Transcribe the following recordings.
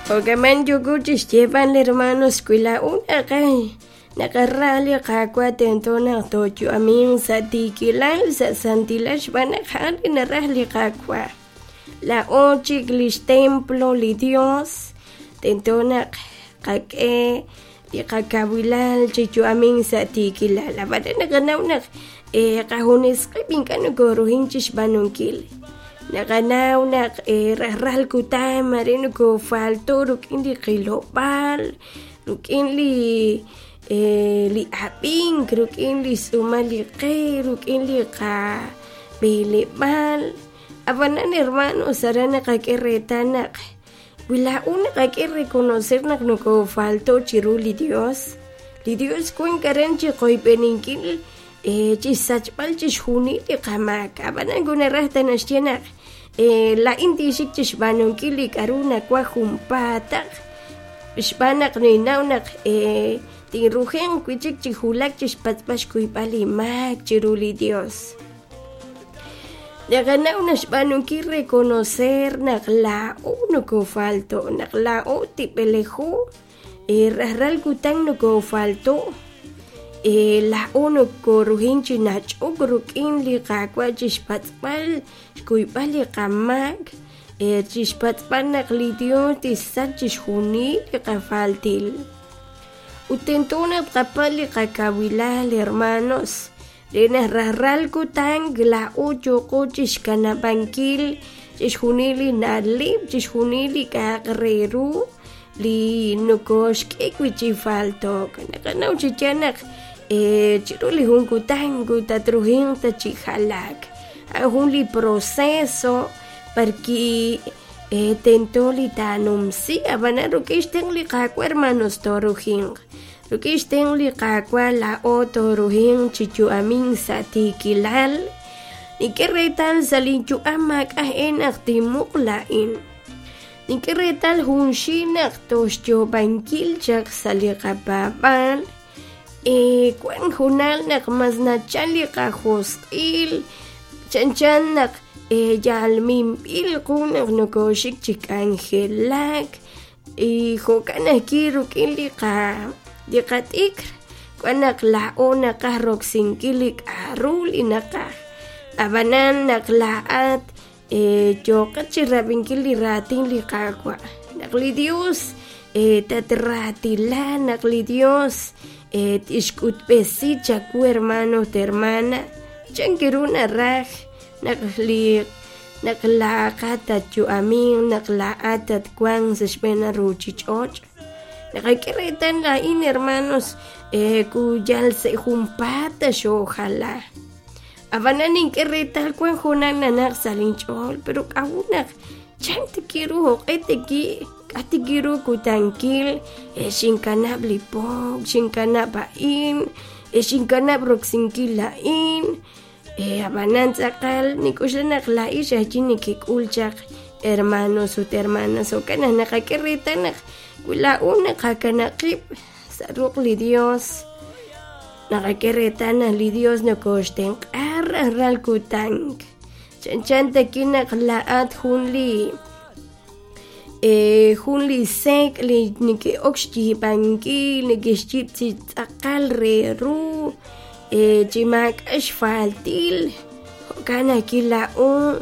Jo'kaman yooko chixyeeb'al hermanos wi laa'o naqaj naqara li Qaawa' tento naq tooyu'aminq sa' tiikilal, sa' santilal xb'aan naq a'an li naraj li Qaawa'. Laa'o chik lix templo li Dios, tento naq qak'e li qakawilal chi yu'amink sa' tiikilal. Ab'anan naqanaw naq qajunes qib' ink'a' nokoruhin chixb'aanunkil. Naqanaw naq rajlal kutan mare nokofalto rik'in li qilob'aal, rik'in li li ab'ink, rik'in li xtz'uumal li qe, rik'in li qab'eleb'aal. Ab'anan hermanos aran naqak'e reetal naq wi laa'o naqak'e reconocer naq nokofalto chiru li Dios, li Dios wank aran chi qoyb'eninkil chixsachb'al chixjunil li qamaak. Ab'anan wi naraj ta naxye naq laa'in tinxik chixb'aanunkil li k'aru nawaj junpaataq xb'aan naq ninnaw naq tinrujenq wi' chik chi wulak chixpatz'b'al xkuyb'al li maak chiru li Dios. Naqanaw naq xb'aanunkil reconocer naq laa'o nokofalto, naq laa'o tib'elejo, rajlal kutan nokofalto, laa'o nokoruhin chi nach'ok rik'in li Qaawa' chixpatz'b'al xkuyb'al li qamaak, chixpatz'b'al naq li Dios tixsach chixjunil li qafaltil. Ut tento naq tqapatz' li qakawilal, hermanos, re naq rajlal kutan laa'o yooqo chixkanab'ankil chixjunil li na'leb', chixjunil li k'a'aq re ru li nokoxk'e wi' chi falto'k. Naqanaw chi yaal naq chiru li jun kutan tatruhinq ta chi jalaak. A'an jun li proceso b'arwi' tento li taanumsi, ab'anan rik'in xtenq' li Qaawa' hermanos tooruhinq. Rik'in xtenq' li Qaawa' laa'o tooruhinq chi yu'amink sa' tiikilal. Nink'e reetal sa' linyu'am maak'a' e naq tinmuq laa'in. Nink'e reetal junxil naq tooxyoob'ankil chaq sa' li qapaab'aal. Wank junal naq mas nachal li qajosq'il, chanchan naq yal minb'il qu naq nokooxik chi k'anjelak. Y jo'kan ajwi' rik'in li qa li qat'ikr wan naq laa'o naqaj roksinkil li k'a'ru li naqaj. Ab'anan naq laa'at yooqat chirab'inkil li raatin li Qaawa', naq li Dios tatraatila, naq li Dios tixk'utb'esi chawu hermano ut hermana chan ru naraj naq li naq laa'aqat tatyu'aminq, naq laa'at tatwanq sa' xb'een ruuchich'och'. Naqak'e reetal laa'in hermanos ku yal sa' junpaat ta xoojala. Ab'anan nink'e reetal wank junaq nanaq sa' linch'ool, pero k'a'ut naq chan tiki ru jo'q'e tiki k'a tiki ru kutankil xinkanab' li pook, xinkanab' a'in, xinkanab' roksinkil a'in. Ab'anan tz'aqal nink'oxla naq laa'in ajwi' nekek'ul chaq hermanos ut hermanas, jo'kan naq naqak'e reetal naq wi laa'o naqakanab' qib' sa' ruq' li Dios, naqak'e reetal naq li Dios nokooxtenq'a rajlal kutan. Chanchan taki naq laa'at jun li jun li sek' li neke'ok xyiib'ankil, neke'xyiib' chi tz'aqal re ru, chi maak'a' xfaltil. Jo'kan ajwi' laa'o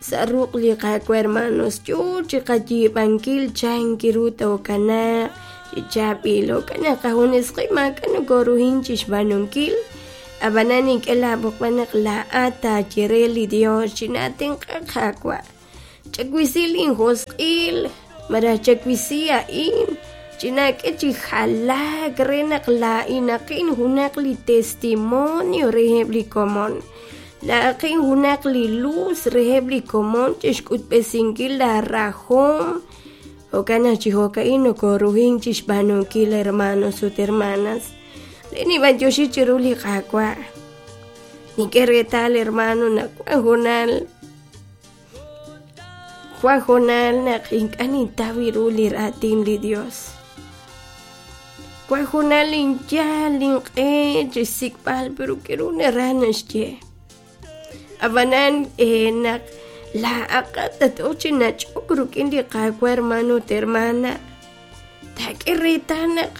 sa' ruq' li Qaawa' hermanos yoo chi qayiib'ankil chan ru tookanaaq chi chaab'il. Jo'kan naq qajunes qib' maak'a' nokoruhin chixb'aanunkil. Ab'anan nink'e laab'oqb'al naq laa'at taaye re li Dios chinaatenq'a Qaawa'. Chawisi linjosq'il malaj chawisi a'in, chinaak'e chi jalaak re naq laa'inaqin junaq li testimonio reheb' li komon. Laa'aqin junaq li luz reheb' li komon chixk'utb'esinkil laarahom. Jo'kan naq chi jo'ka'in nokoruhin chixb'aanunkil hermanos ut hermanas. Re ninb'antioxi chiru li Qaawa'. Nink'e reetal hermano naq wan hoonal Wan hoonal naq ink'a' nintaw ru li raatin li Dios. Wan hoonal ninyal inq'e chixsik'b'al pero k'a'ru naraj naxye. Ab'anan naq Laa'aqat tat-ok chi nach'ok rik'in li Qaawa' hermano ut hermana, taak'e reetal naq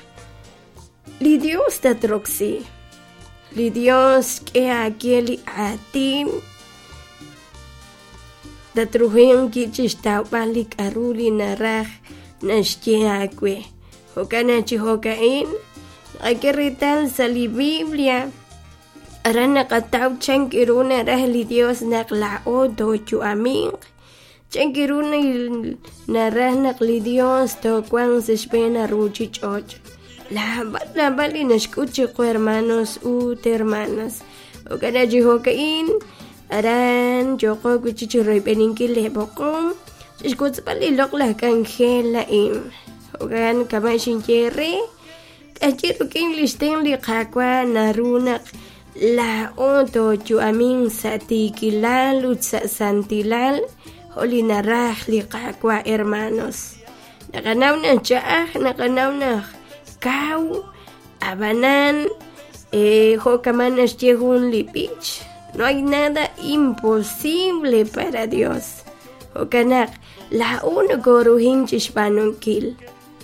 li Dios tatroksi. Li Dios xk'e aawe li aatin tatrujenq wi' chixtawb'al li k'a'ru li naraj naxye aawe. Jo'kan naq chi jo'ka'in naqak'e reetal sa' li Biblia aran naqataw chan ru naraj li Dios naq laa'o tooyu'aminq, chan ru naraj naq li Dios toowanq sa' xb'een ruuchich'och'. Naab'al naab'al li naxk'ut chiqu hermanos ut hermanas. Jo'kan naq chi jo'ka'in aran yooqo wi' chik chiroyb'eninkil lee b'oqom chixwotzb'al li loq'laj k'anjel a'in. Jo'kan kama' xinye eere, k'ayi rik'in lix tenq' li Qaawa' naru naq laa'o tooyu'aminq sa' tiikilal ut sa' santilal jo' li naraj li Qaawa' hermanos. Naqanaw naq ch'a'aj, naqanaw naq kaw, ab'anan jo' kama' naxye jun li b'ich, no hay nada imposible para Dios. Jo'kan naq laa'o nokoruhin chixb'aanunkil,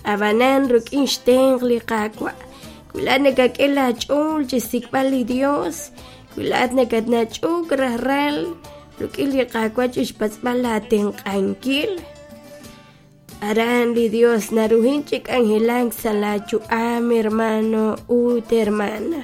ab'anan rik'in xtenq' li Qaawa'. Wi laa'at nakak'e laach'ool chixsik'b'al li Dios, wi laa'at nakatnach'ok rajlal rik'in li Qaawa' chixpatz'b'al laatenq'ankil, aran li Dios naruhin chi k'anjelak sa' laayu'am hermano ut hermana.